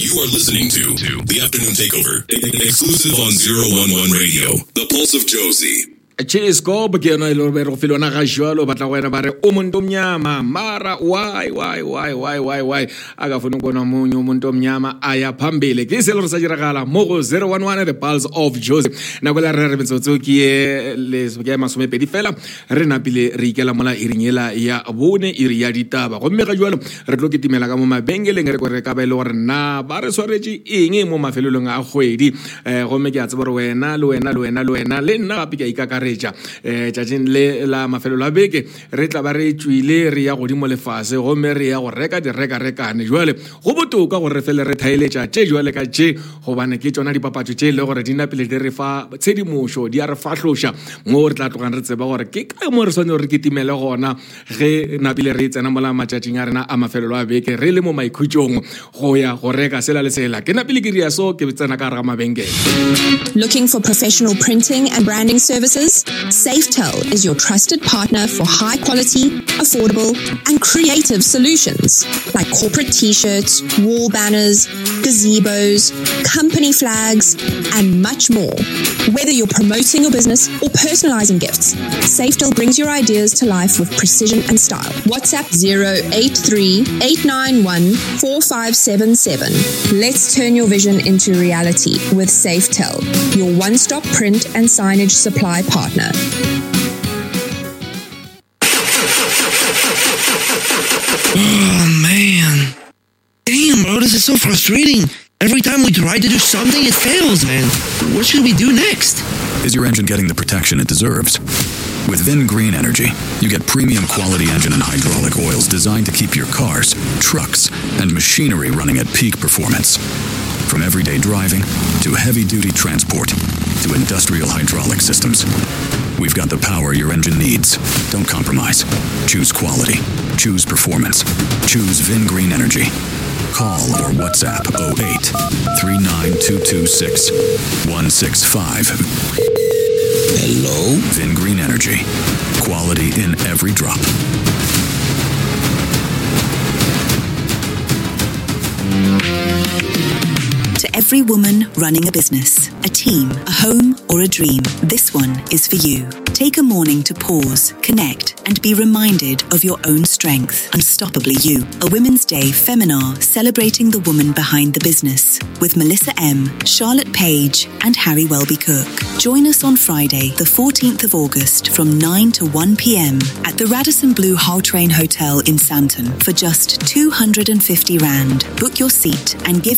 You are listening to The Afternoon Takeover, exclusive on 011 Radio, the pulse of Jozi. Cheescope ke yona e le gore go file yona ga jalo batla go wena ba re o monto omnyama mara why why why why why why a ka fone kona monye o omnyama a ya phambili ke se le gore sa diragala mo go 011 the pulse of Jozi nako la re re metsotso ke ye le ke 20 fela re napile re ikela mola iring yela ya bone iri ya ditaba gomme ga jalo re tlo ketimela ka mo mabenkeleng re kore ka ba e le gore na ba re swaretše eng mo mafelelong a kgwedi um gomme ke a tseba gore wena le wena le wena le wena le nna gape ke a ikakaretša um tšatšing le la mafelelo a beke re tla ba re tšwile re ya godimo lefase gomme re ya go reka direkarekane jale go botoka gore re fele re thaeletša tše jale ka tše gobane ke tšona dipapatšo tše e le gore di napile di re fa tshedimošo di a re fahloša mo re tla tlogang re tseba gore ke kae mo re swanetse gore re kitimele gona ge napile re tsena mola matšatšing a rena a mafelelo a beke re le mo maikhutšong go ya go reka sela le sela ke napile ke ria so ke tsena ka gare ga mabenkele. Looking for professional printing and branding services? Safetel is your trusted partner for high quality, affordable, and creative solutions like corporate t-shirts, wall banners, gazebos, company flags, and much more. Whether you're promoting your business or personalizing gifts, Safetel brings your ideas to life with precision and style. WhatsApp 083 891 4577. Let's turn your vision into reality with Safetel, your one stop print and signage supply partner. Oh man. Damn, bro, this is so frustrating. Every time we try to do something, it fails, man. What should we do next? Is your engine getting the protection it deserves? With VinGreen Energy, you get premium quality engine and hydraulic oils designed to keep your cars, trucks, and machinery running at peak performance. From everyday driving to heavy duty transport to industrial hydraulic systems. We've got the power your engine needs. Don't compromise. Choose quality. Choose performance. Choose VinGreen Energy. Call or WhatsApp 08 39226 165. Hello? VinGreen Energy. Quality in every drop. To every woman running a business, a team, a home, or a dream, this one is for you. Take a morning to pause, connect, and be reminded of your own strength. Unstoppably You, a Women's Day Feminar celebrating the woman behind the business with Melissa M., Charlotte Page, and Harry Welby Cook. Join us on Friday, the 14th of August from 9 to 1 p.m. at the Radisson Blu Gautrain Hotel in Sandton for just 250 Rand. Book your seat and give